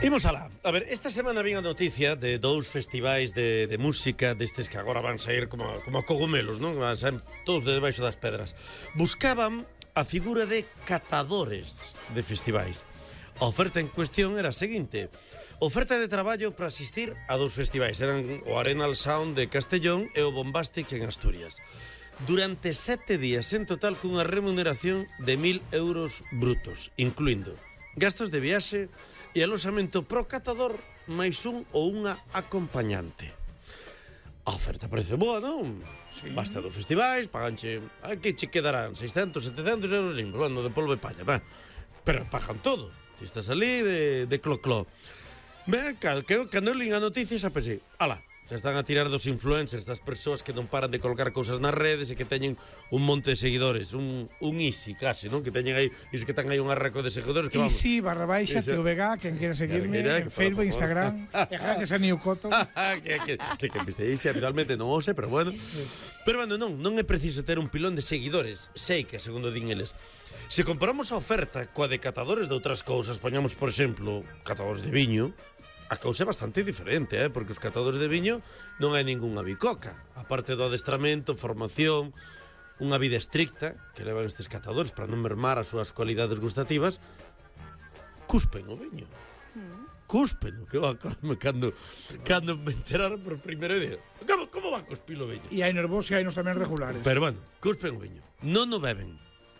Imos alá. A ver, esta semana vin a noticia de dous festivais de música destes que agora van sair como cogumelos, non? Van sair todos de debaixo das pedras. Buscaban a figura de catadores de festivais. A oferta en cuestión era a seguinte: oferta de traballo para asistir a dous festivais. Eran o Arenal Sound de Castellón e o Bombastic en Asturias. Durante 7 días en total, cunha remuneración de 1.000 euros brutos, incluindo gastos de viaxe e aloxamento pro catador máis un ou unha acompañante. A oferta parece boa, non? Sí. Basta dos festivais, paganche... Aquí che quedarán 600, 700 euros limpos, bueno, de polvo e palla, va. Pero pagan todo. Ti estás ali de clo-clo. Ben, cando eu lin a noticia xa pensei, ala, xa están a tirar dos influencers, das persoas que non paran de colocar cousas nas redes e que teñen un monte de seguidores, un easy casi, non? Que teñen aí, iso que están aí un arraco de seguidores que vamos. Easy, /, TVG, quen quere seguirme, en Facebook, Instagram, e gracias a Newcotton. Que viste aí, finalmente non o sei, pero bueno. Pero bueno, non é preciso ter un pilón de seguidores, sei que, segundo din eles. Se comparamos a oferta coa de catadores de outras cousas, poñamos, por exemplo, catadores de viño, a cousa é bastante diferente, porque os catadores de viño non hai ningunha bicoca. A parte do adestramento, formación, unha vida estricta que levan estes catadores para non mermar as súas cualidades gustativas, cuspen o viño. Cuspen, que va a acordarme cando me enteraron por primeira vez. Como va a cuspir o viño? E hai nervos e hai nos tamén regulares. Pero bueno, cuspen o viño. Non o beben,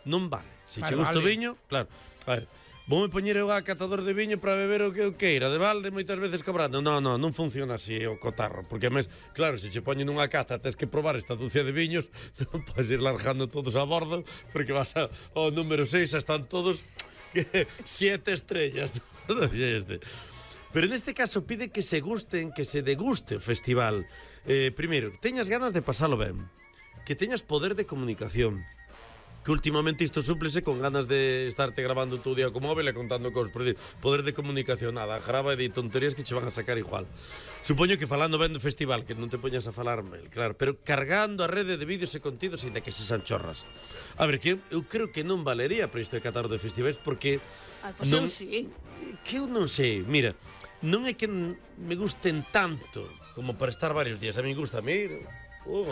non vale. Se che gusta o viño, claro. A ver, vou me poñer eu a catador de viño para beber o que eu queira, de balde, moitas veces cobrando. Non funciona así o cotarro, porque a mes, claro, se che poñen unha cata, tens que probar esta dúcia de viños, non podes ir largando todos a bordo, porque vas ao número 6, están todos 7 estrellas. Pero neste caso pide que se gusten, que se deguste o festival. Primeiro, que teñas ganas de pasalo ben, que teñas poder de comunicación, que últimamente isto súplese con ganas de estarte grabando todo o día co móvil e contando cosas, por decir, poder de comunicación, nada, grava e de tonterías que che van a sacar igual. Supoño que falando ben do festival, que non te poñas a falar mal, claro, pero cargando a rede de vídeos e contidos ainda que se san chorras. A ver, que eu creo que non valería para isto de catar de festivais, porque pues non, eu sí. Que eu non sei, mira, non é que me gusten tanto como para estar varios días, a mí gusta a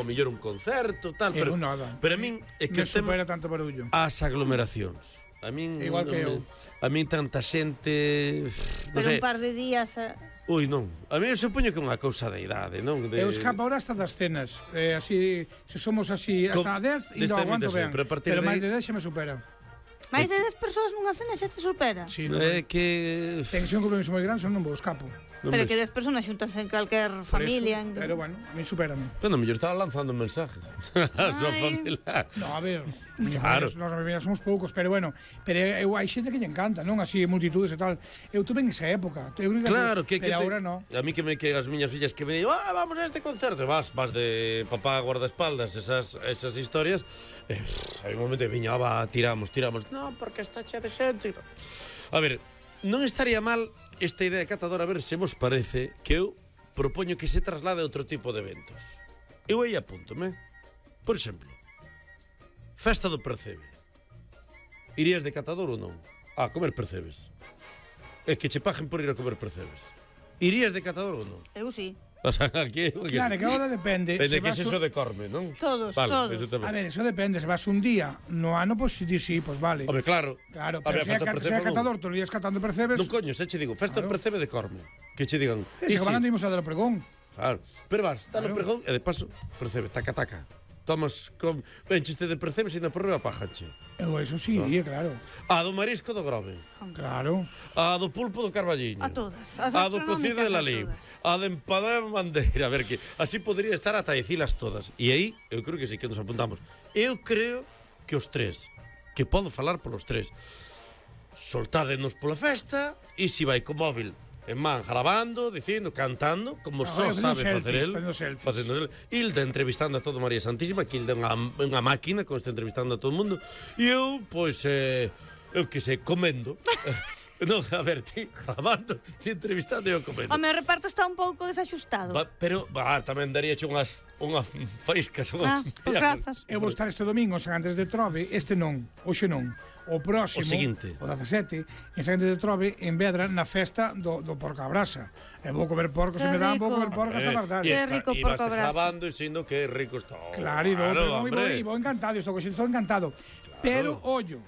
mellor un concerto, tal, pero a min é que me supera tanto barullo. As aglomeracións. A min igual que eu. A min tanta xente, pero un par de días. Ui, non. A mí eu supoño que é unha cousa da idade, non? Eu escapo ahora hasta das cenas. Así, se somos así hasta 10 e non aguanto ben. Pero máis de 10 xa me supera. Máis de 10 persoas nunha cena xa te supera? Sí, é que... Ten que ser un compromiso moi grande, non vou escapo. Pero que 10 personas xuntas en calquer familia. Pero bueno, a mí supérame. Pero mellor estaba lanzando mensajes a súa familia. No, a ver, claro. Nós a familia somos poucos, pero bueno, pero hai xente que lle encanta, non? Así, multitudes e tal. Eu tuve en esa época. Claro, que agora non. A mí que as miñas fillas que me digo, vamos a este concerto, vas de papá guardaespaldas, esas historias. Hai un momento que viña, tiramos. Non, porque está chea de xente. A ver, non estaría mal esta idea de catador, a ver se vos parece, que eu propoño que se traslade a outro tipo de eventos. Eu aí apúntome. Por exemplo, festa do percebe. Irías de catador ou non? A comer percebes. É que che paguen por ir a comer percebes. Irías de catador ou non? Eu sí. O sea, aquí... Claro, que agora depende. Depende que es eso de Corme, non? Todos. A ver, eso depende. Se vas un día no ano, pues sí, pues vale. Hombre, claro. Claro, pero se é catador, todos os días catando percebes... Non, coño, se che digo, festa do percebe de Corme. Que che digan... Se van andimos a dar o pregón. Claro. Pero vas, dale o pregón e de paso, percebe, taca. Tomas con... Benchiste de percebes e na porreba pájanche. Eso sí, claro. A do marisco do Grove. Claro. A do pulpo do Carballiño. A todas. A do cocido de Lalín. A de empadá de Bandeira. A ver, que así podría estar ata dicilas todas. E aí, eu creo que sí que nos apuntamos. Eu creo que os tres, que podo falar polos tres, soltádenos pola festa e si vai co móvil en man, grabando, dicindo, cantando, como só sabe facer el. Facendo Hilda entrevistando a todo María Santísima, que Hilda é unha máquina que está entrevistando a todo o mundo. E eu, pois, eu que sei, comendo. Non, a ver, ti grabando, ti entrevistando e eu comendo. O meu reparto está un pouco desaxustado. Pero, tamén daríache unhas faíscas. Pues grazas. Eu vou estar este domingo, antes de Trove, este non, hoxe non. o próximo, O seguinte. o 17, en San Quinto de Trove, en Vedra, na festa do porco a brasa. E vou comer porco, se Que me dan, vou rico. comer porco hasta matar. Qué rico e porco vas brasa. grabando e dicindo que rico está. Claro, e vou encantado, estou encantado. Pero, ollo,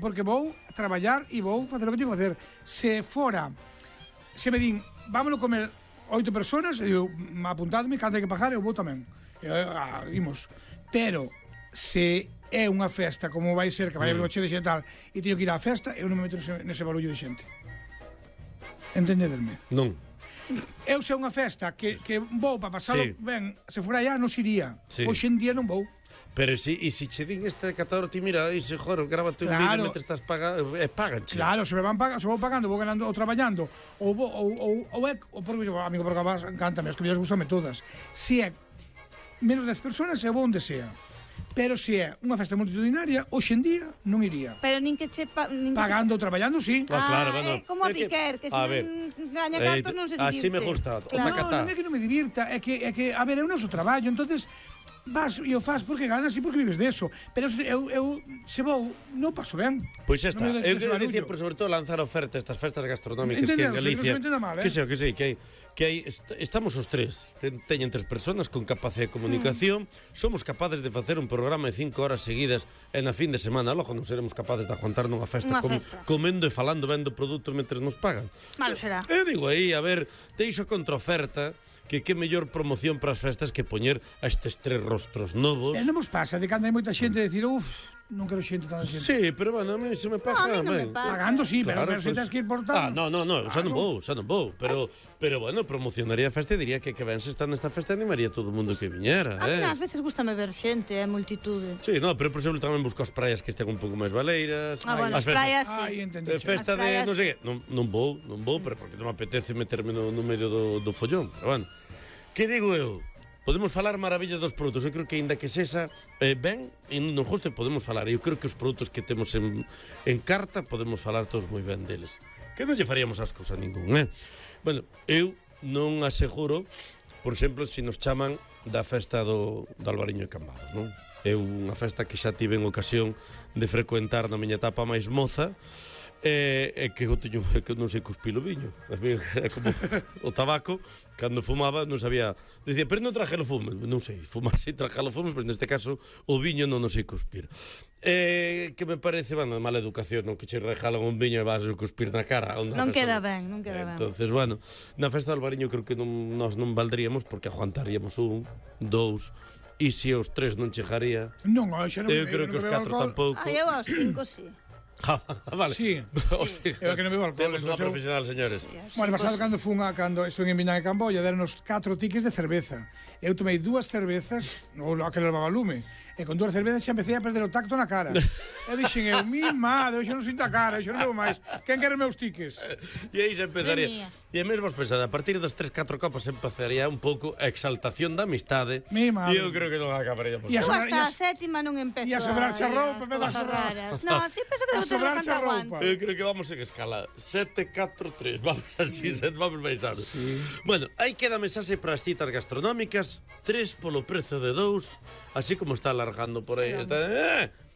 porque vou traballar e vou facer o que tengo que facer. Se me din, vámonos comer 8 personas, e digo, apuntadme, cando hai que pagar, eu vou tamén. Imos. Pero, se é unha festa como vai ser, que vai haber de xente e tal, e teño que ir á festa, eu non me meto nese barullo de xente. Entendederme? Non. Eu se é unha festa que vou para pasalo ben, se fora allá non iría. Hoxe en día non vou. Pero si che din este catador, ti mira, e se joro, grábate un vídeo mentre estás pagando, e paganche. Claro, se vou pagando, vou ganando ou traballando, ou porque amigo, porque encántame, as comidas gustame todas. Se é menos 10 personas, se vou onde sea. Pero se é unha festa multitudinaria, hoxe en día non iría. Pero nin que che... Pagando ou traballando, sí. Claro, bueno. Como a Piquer, que se non gaña cartos non se divirte. Así me gusta, o tacatá. Non é que non me divirta, é que, a ver, é o noso traballo, entonces vas e o fas porque ganas e porque vives deso. Pero eu se vou, non paso ben. Pois xa está. Eu quero dicir, por sobre todo, lanzar oferta estas festas gastronómicas que en Galicia. Que hai, estamos os tres, teñen 3 personas con capacidade de comunicación, somos capaces de facer un programa de 5 horas seguidas en a fin de semana, logo non seremos capaces de aguantar nunha festa comendo e falando ben do produto mentre nos pagan. Malo será. Eu digo aí, a ver, deixo contraoferta, que mellor promoción para as festas que poñer a estes 3 rostros novos. Non vos pasa de cando hai moita xente de decir, non quero xente tanta xente. Sí, pero bueno, a mí se me pasa. No, a mí non me pasa. Pagando sí, Claro, pero se tens que ir por tanto. no, xa non vou. Pero bueno, promocionaría a festa e diría que ben se está nesta festa animaría todo o mundo que viñera, A mí ás veces gustame ver xente, multitude. Sí, no, pero por exemplo tamén busco as praias que estén un pouco máis baleiras. Bueno, as praias sí. Ai, entendi. Festa de, non sei, non vou, pero porque non me apetece meterme no medio do follón, pero bueno. Que digo eu? Podemos falar maravillas dos produtos. Eu creo que ainda que sexa ben, e non justo podemos falar. Eu creo que os produtos que temos en carta podemos falar todos moi ben deles. Que non lle faríamos ascos a ningún, Bueno, eu non aseguro, por exemplo, se nos chaman da festa do Albariño de Cambados, non? É unha festa que xa tive en ocasión de frecuentar na miña etapa máis moza, que eu teño que non sei cuspir o viño. É como o tabaco, cando fumaba non sabía, dicía, pero non traje o fume, non sei, fumar si traje o fume, pero neste caso o viño non sei cuspir. Que me parece, bueno, de mala educación, non que che regalan un viño e vas a cuspir na cara. Non queda ben, non queda ben. Entonces, bueno, na festa do Albariño creo que nós non valdríamos porque aguantaríamos 1, 2, e se os 3 non chegaría. Non, xa non. Eu creo que os 4 tampouco. Eu aos 5 sí. Vale. Sí. Eu que non bebo alcohol. Temos unha profesional, señores. Bueno, pasado cando estuve en Viña de Camboya, deronos 4 tickets de cerveza. Eu tomei 2 cervezas, ou aquele levaba lume, e con 2 cervezas xa empecé a perder o tacto na cara. E dixen eu, mi madre, eu xa non sinto a cara, eu xa non bebo máis. Quen quere meus tickets? E aí xa empezaría. E mesmo os pensade, a partir das 3-4 copas empezaría un pouco a exaltación da amistade. Mi madre. E eu creo que non acabaríamos. Eu hasta a sétima non empezo. E a sobrarche a roupa, me das raras. Non, sí, penso que debo ter bastante aguante. Eu creo que vamos en escala 7-4-3, vamos así, vamos baixar. Sí. Bueno, aí queda mensaxe para as citas gastronómicas, 3 polo prezo de 2, así como está alargando por aí.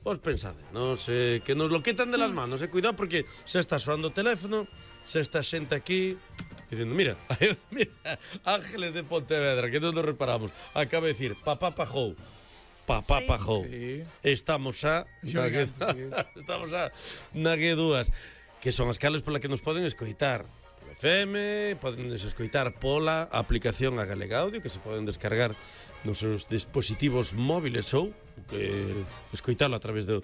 Vos pensade, non sei, que nos lo quitan de las manos, cuidado porque se está soando o teléfono, se está xente aquí dicindo, mira, Ángeles de Pontevedra, que non nos reparamos, acaba de decir, papá pajou. Sí. Estamos a na G2, que son as cales pola que nos poden escoitar polo FM, poden escoitar pola aplicación a Galega Audio, que se poden descargar nos seus dispositivos móviles ou escoitalo a través do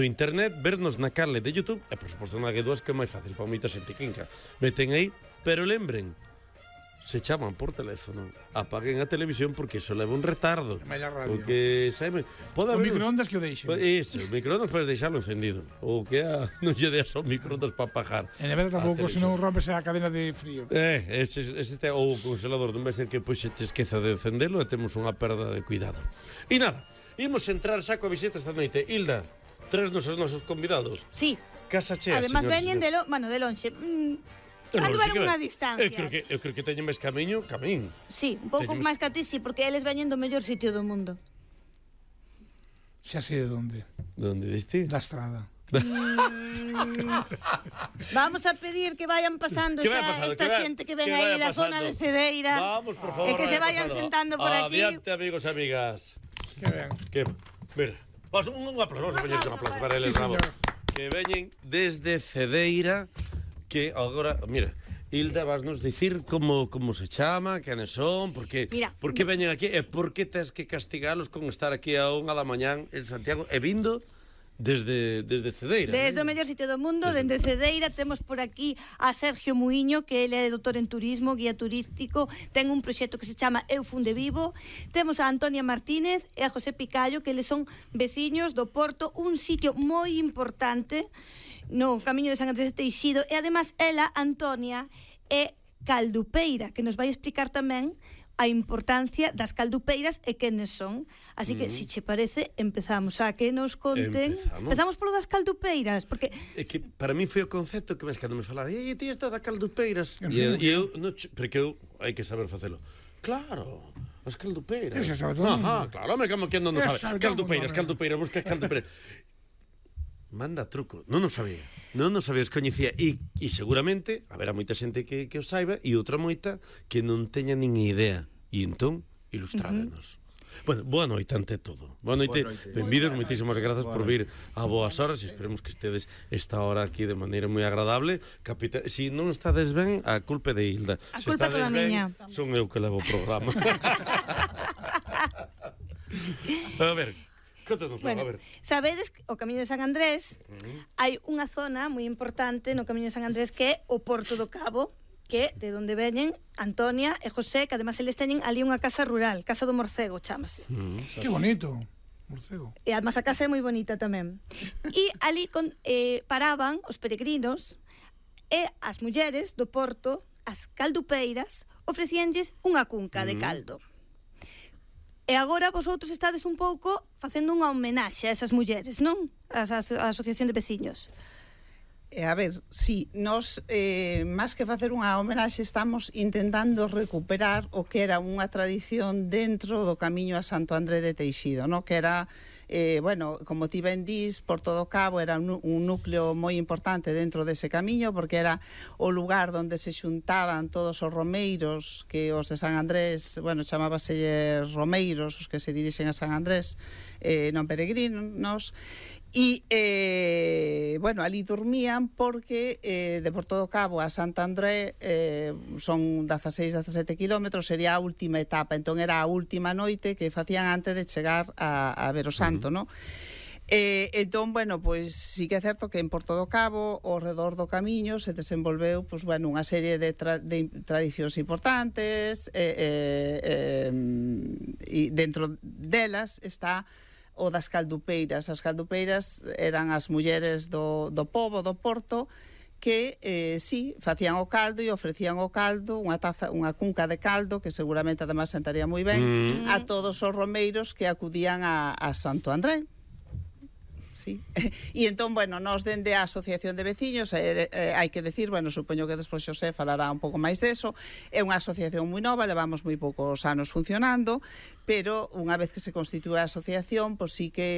internet, vernos na canle de YouTube e, por suposto, na G2, que é máis fácil para moita xente clinca. Meten aí, pero lembren, se chaman por teléfono, apaguen a televisión porque iso leva un retardo. Porque, sabe, pode haber... O microondas que o deixen. Iso, o microondas podes deixarlo encendido. Ou que non lle deas ao microondas para apagar. E nevera tampouco, se non rompes a cadena de frío. Ou o congelador non vai ser que pois se te esqueza de encendelo e temos unha perda de cuidado. E nada, imos entrar xa coa visita esta noite. Hilda, tres nos nosos convidados. Sí. Casa chea, además veñen de lonxe. Anduveron unha distancia. Eu creo que teñen máis camiño. Sí, un pouco máis que a ti, sí, porque eles veñen do mellor sitio do mundo. Xa sei de onde. De onde diste? Da Estrada. Vamos a pedir que vayan pasando Que vaya xa pasando, esta xente que ven vaya aí da zona pasando. de Cedeira. Vamos, por favor, E que se vaya vayan pasando. sentando por aquí. Adiante, amigos e amigas. Que ben. Que, mira, un aplauso, vamos a poñer un aplauso para eles, Sí, bravo. señor. Que veñen desde Cedeira, que agora, mira, Hilda, vasnos dicir como se chama, quenes son, por que veñen aquí e por que tes que castigalos con estar aquí a 1 da mañán en Santiago e vindo desde Cedeira. Desde o mellor sitio do mundo, dende Cedeira, temos por aquí a Sergio Muiño, que ele é doutor en turismo, guía turístico, ten un proxecto que se chama Eu Funde Vivo. Temos a Antonia Martínez e a José Picallo, que eles son veciños do Porto, un sitio moi importante no Camiño de San Andrés de Teixido, e ademais ela, Antonia, é caldupeira, que nos vai explicar tamén a importancia das caldupeiras e quenes son. Así que, se che parece, empezamos a que nos conten. Empezamos polo das caldupeiras, porque É que para mí foi o concepto que ves cando me falaron, ti está da caldupeiras. E eu, porque eu hai que saber facelo. Claro, as caldupeiras. Eso sabe todo. Claro, me como que non sabe. Caldupeiras, busca caldupeiras. Manda truco, non o sabía, os coñecía e seguramente haberá moita xente que o saiba e outra moita que non teña nin idea e entón ilustrádenos. Bueno, boa noite ante todo. Boa noite, benvidos, moitísimas grazas por vir a boas horas e esperemos que estedes esta hora aquí de maneira moi agradable. Si non estades ben, a culpa de Hilda. A Se culpa estades toda ben, miña. son eu que levo o programa. A ver, contanos, bueno, a ver. sabedes que o Camiño de San Andrés hai unha zona moi importante no Camiño de San Andrés que é o Porto do Cabo, que de onde veñen Antonia e José, que además eles teñen ali unha casa rural, Casa do Morcego, chámase. Que bonito. Morcego. E además a casa é moi bonita tamén. E ali paraban os peregrinos e as mulleres do Porto, as caldupeiras, ofrecíanlles unha cunca de caldo. E agora vosotros estades un pouco facendo unha homenaxe a esas mulleres, non? A Asociación de Veciños. A ver, sí, nos, máis que facer unha homenaxe, estamos intentando recuperar o que era unha tradición dentro do Camiño a Santo André de Teixido, no? Que era, bueno, como ti ben dís, Porto do Cabo era un núcleo moi importante dentro dese camiño, porque era o lugar onde se xuntaban todos os romeiros, que os de San Andrés, bueno, chamábase romeiros, os que se dirixen a San Andrés, non peregrinos, e, bueno, ali dormían porque de Porto do Cabo a Santo André son 16-17 kilómetros, sería a última etapa, entón era a última noite que facían antes de chegar a ver o santo, non? Entón, bueno, pois sí que é certo que en Porto do Cabo, ao redor do camiño, se desenvolveu, pois, bueno, unha serie de tradicións importantes, e dentro delas está o das caldupeiras. As caldupeiras eran as mulleres do pobo, do Porto, que sí, facían o caldo e ofrecían o caldo, unha cunca de caldo, que seguramente además sentaría moi ben, a todos os romeiros que acudían a Santo André. Sí. E entón, bueno, nos dende a Asociación de Veciños, hai que decir, bueno, supoño que despois Xosé falará un pouco máis deso, é unha asociación moi nova, levamos moi poucos anos funcionando, pero unha vez que se constitúe a asociación, pois sí que